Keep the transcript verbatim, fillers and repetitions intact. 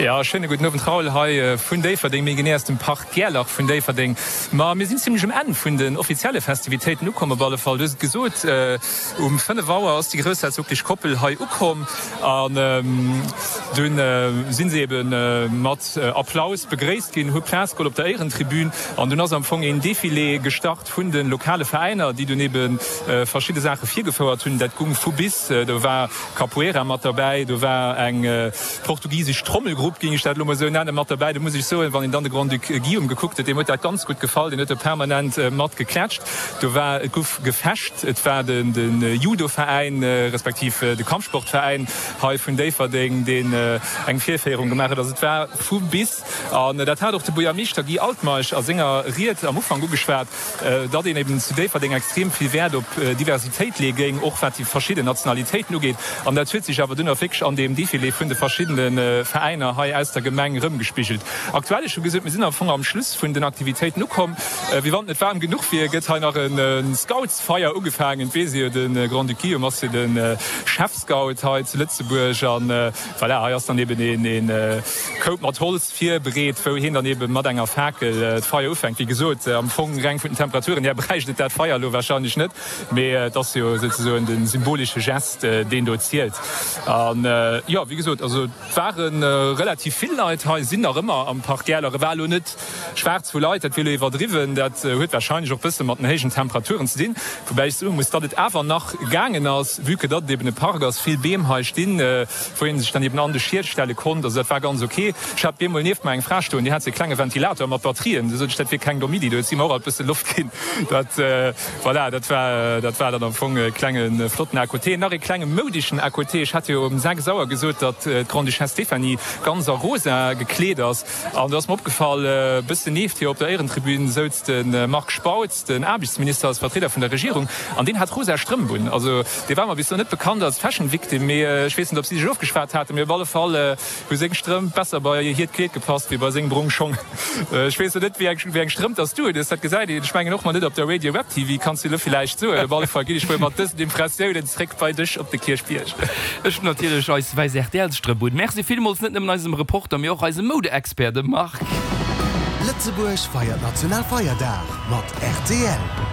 Jo, schéine gudden Owend Raoul, hei vun Déifferdeng, méi genee aus dem Park Gerlach vun Déifferdeng. Ma mir sinn zimlech um Enn vun den offizielle Festivitéiten ukomm. Op alle Fall, du hues et gesot, um fënnef Auer ass déi groussherzoglech Koppel hei ukomm an dunn si se ebe mat Applaus begréisst ginn, hu Plaz geholl op der Éierentribün an dunn ass am Fong een Defilé gestart vun de lokale Veräiner, déi dunn ebe verschidde Saache virgefouert hunn. Dat gung vu bis, do war Capoeira mat derbäi, do war eng portugisesch Trommelgrupp, géing ech dat elo mol esou nennen, mat derbäi. Do muss ech soen, wann een dann de Grand-Duc Guillaume gekuckt huet, deem huet dat ganz gutt gefall, deen huet do permanent mat geklätscht. Do war, et guff gefecht, et war de Judoveräin, respektiv de Kampfsportveräin hei vun Déifferdeng, deen eng Virféierung gemaach huet. Also et war vu bis. An dat hat och de Buergermeeschter Guy Altmeisch a senger Ried am Ufank ugeschwat, datt een eben zu Déifferdeng extrem vill Wäert op Diversitéit leeë géing, och wat déi verschidden Nationalitéiten ugeet. An dat huet sech awer dunn och wierklech an deem Defilé vun de verschiddene Veräiner hei aus der Gemeng erëmgespigelt. Aktuell, ech hu gesot, mir sinn am Fong am Schluss vun den Aktivitéiten ukomm. Wéi wann et net waarm genuch wier, gëtt hei nach e Scoutsfeier ugefaangen. Et weess ee jo, de Grand-Duc Guillaume ass jo de Chefscout hei zu Lëtzebuerg. An voilà, hei ass dann eben ee Koup mat Holz virbereet, wou hien dann eben mat enger Fakel d'Feier ufänkt. Wéi gesot, am Fong reng vun den Temperaturen hier bräicht et dat Feier elo warscheinlech net, mee et ass jo souzesoen de symbolesche Gest, deen do zielt. An jo, wéi gesot, also et ware relativ vill Leit hei, sinn nach ëmmer am Park Gäerler. E war elo net schwaarz vu Leit, dat wier elo iwwerdriwwen. Dat huet warscheinlech och bësse mat den héijen Temperaturen ze dinn, woubäi ech soe muss, datt et awer nach gaangen ass, vue que datt et eben e Park ass, vill Beem hei stinn, wou ee sech dann eben an de Schiet stelle konnt. Also dat war ganz ok. Ech hat bemol nieft mer eng Fra stoen, déi hat sou e klenge Ventilator mat Batterien. Du sot ech, dat wier keng domm Iddi. Do huet si mer och alt bësse Loft ginn. Dat, voilà, dat war, dat war dann am Fong e klenge flotten À côté. Nach e klenge moudeschen À côté, Ech hat jo um sechs Auer gesot, datt d'Grande-Duchesse Stéphanie ganz a rosa gekleet ass. An do ass mer opgefall, e bëssen nieft hir op der Éierentribün souz de Marc Spautz, den Aarbechtsminister als Vertrieder vun der Regierung, an deen hat rosa Strëmp un. Also dee war mer bis elo net bekannt als Fashion Victim, mee ech weess net, ob si sech ofgeschwat haten, mee op alle Fall hu seng Strëmp besser bei hiert Kleed gepasst wéi bei seng brong Schong. Ech weess elo net, wéi eng wéi eng Strëmp dass du hues, dat gesäit een, ech mengen och mol net op der Radio Web T V, kanns du elo villäicht soen. Op alle Fall ginn ech mol mat dësen Impressiounen zréck bei dech op de Kierchbierg. Ech hunn natierlech eis wäiss R T L-Strëmp un. Merci villmools net nëmmen eisem Reporter, mee och eisem Moude-Expert, dem Marc. Lëtzebuerg feiert Nationalfeierdag mat R T L.